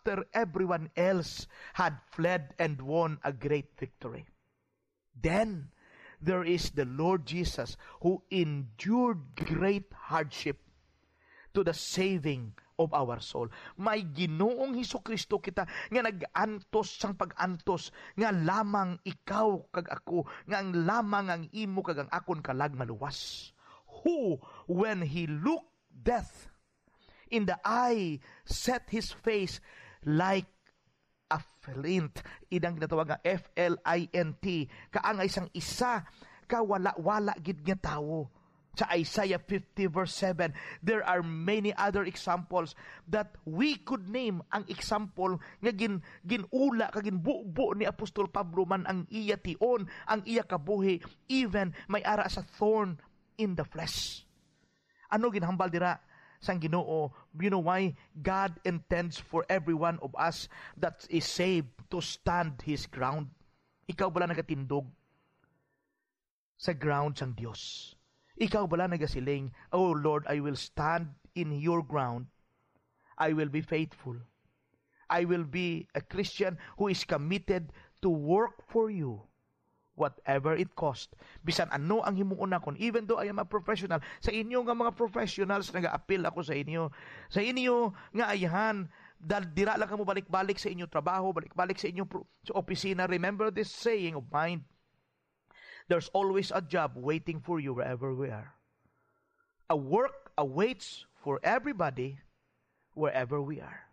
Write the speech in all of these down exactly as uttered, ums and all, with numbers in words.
after everyone else had fled and won a great victory. Then there is the Lord Jesus, who endured great hardship to the saving of our soul. May Ginoong Hesukristo kita nga nag-antos sang pag-antos nga lamang ikaw kag ako, nga ang lamang ang imo kag ang akon kalag maluwas. Who, when he looked death in the eye, set his face like a flint. Inang ginatawag nga F L I N T, kaangay sang isa ka wala-wala gid nga tawo. Sa Isaiah fifty verse seven, there are many other examples that we could name. Ang example nga gin-, ginula kag ginbubo ni Apostol Pablo man ang iya tion, ang iya kabuhi, even may ara sa thorn in the flesh. Ano ginhambal dira sang Ginoo? You know why? God intends for every one of us that is saved to stand his ground. Ikaw bala nagatindog sa ground sang Dios? Ikaw bala nagasiling, "Oh Lord, I will stand in your ground. I will be faithful. I will be a Christian who is committed to work for you, whatever it cost." Bisan ano ang himuon nakon, even though I am a professional, sa inyo nga mga professionals, nagaapil ako sa inyo. Sa inyo nga ayhan, dal-, dira lang kamo balik-balik sa inyo trabaho, balik-balik sa inyo pro-, sa opisina. Remember this saying of mine, "There's always a job waiting for you wherever we are." A work awaits for everybody wherever we are.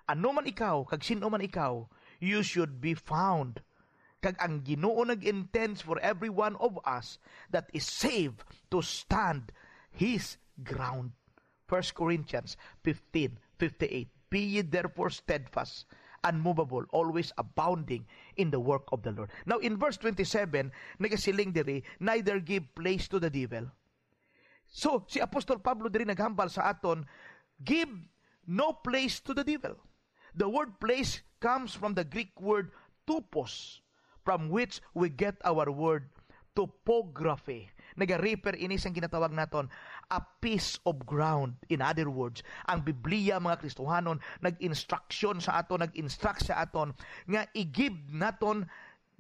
Ano man ikaw, kag sin-o man ikaw, you should be found. Kag ang Ginoo nag-intends for every one of us that is saved to stand his ground. First Corinthians fifteen fifty-eight, "Be ye therefore steadfast, unmovable, always abounding in the work of the Lord." Now, in verse twenty-seven, nagasiling diri, "Neither give place to the devil." So, si Apostol Pablo diri naghambal sa aton, "Give no place to the devil." The word place comes from the Greek word tupos, from which we get our word topography. Nagarefer ini sang ginatawag naton a piece of ground. In other words, ang Biblia, mga Kristohanon, nag-instruction sa aton, nag-instruct sa aton nga i-give naton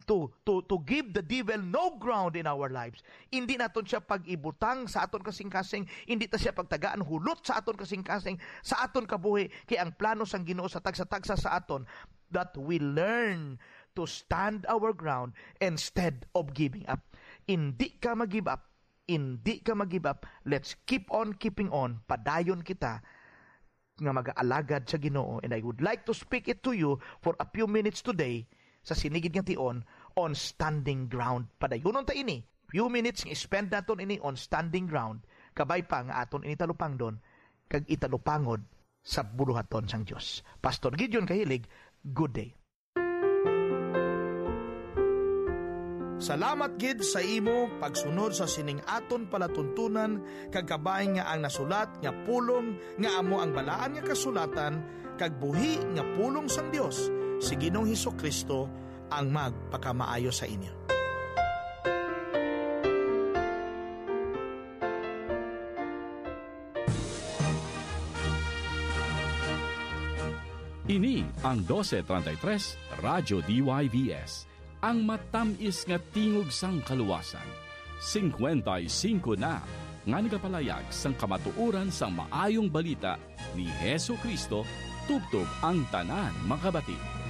to, to, to give the devil no ground in our lives. Hindi naton siya pag-ibutang sa aton kasing-kasing, hindi ta siya pagtagaan hulot sa aton kasing-kasing, sa aton kabuhi, kay ang plano sang Ginoo sa tagsa-tagsa sa aton, that we learn to stand our ground instead of giving up. Hindi ka mag-give up. Hindi ka mag-give up. Let's keep on keeping on. Padayon kita nga mag-aalagad sa Ginoo. And I would like to speak it to you for a few minutes today sa sinigid nga tion on standing ground. Padayunon ta ini. Few minutes nga spend naton ini on standing ground. Kabay pa nga aton ini talupangdon kag italupangod sa buluhaton sang Dios. Pastor Gideon Kahilig, good day. Salamat gid sa imo pagsunod sa sining aton palatuntunan, kag kabay nga ang nasulat nga pulong nga amo ang Balaan nga Kasulatan kag buhi nga pulong sang Dios, si Ginoong Jesu-Cristo ang magpakamaayo sa inyo. Ini ang doce treinta y tres Radyo D Y V S, ang matamis nga tingog sang kaluwasan. Singkwenta y singko na nga nagapalayag sang kamatuoran sang Maayong Balita ni Jesu-Cristo tubtob ang tanan makabati.